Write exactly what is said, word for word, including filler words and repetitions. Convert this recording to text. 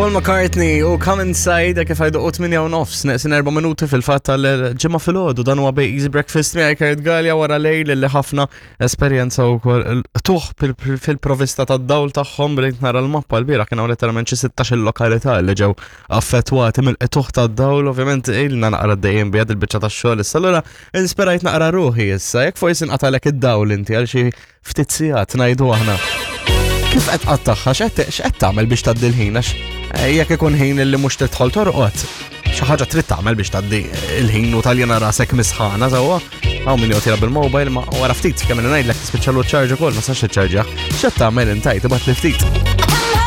Paul McCartney u Come Inside kif għajdu u tmienja u nofs, neqsin erba' minuti fil-fatt tal-Ġimgħa filgħodu. Dan huwa Bej Easy Breakfast miegħi Kurt Galea wara lejl li ħafna esperjenza wkoll tuħ fil-provista tad-dawl tagħhom. Bdejt nara l-mappa l-bieraħ, kien hawn letteralment xi sittax-il lokalità li ġew affettwati mill-qtuħ tad-dawl. Ovvjament ilna naqra dejjem bijad il-biċċa tax-xogħol issa, allura inspirajt naqra ruħi issa. Jekk forsi nqatalek id-dawl inti għal xi ftit sigħat, ngħidu aħna, kif qed tqattagħha, x'qed x'qed tagħmel biex tgħaddi l-ħin? Għax eh, jekk ikun ħin li mhux tidħol torqod, xi ħaġa trid tagħmel biex tgħaddi il-ħin u taljana rasek misħana sewwa. Hawn min joqgħod jilgħab bil-mobile, ma wara ftit kemm ngħidlek tispiċċalu ċarġ ukoll, ma sax iċċarġjah. X'qed tagħmel inti? Tibgħat li ftit.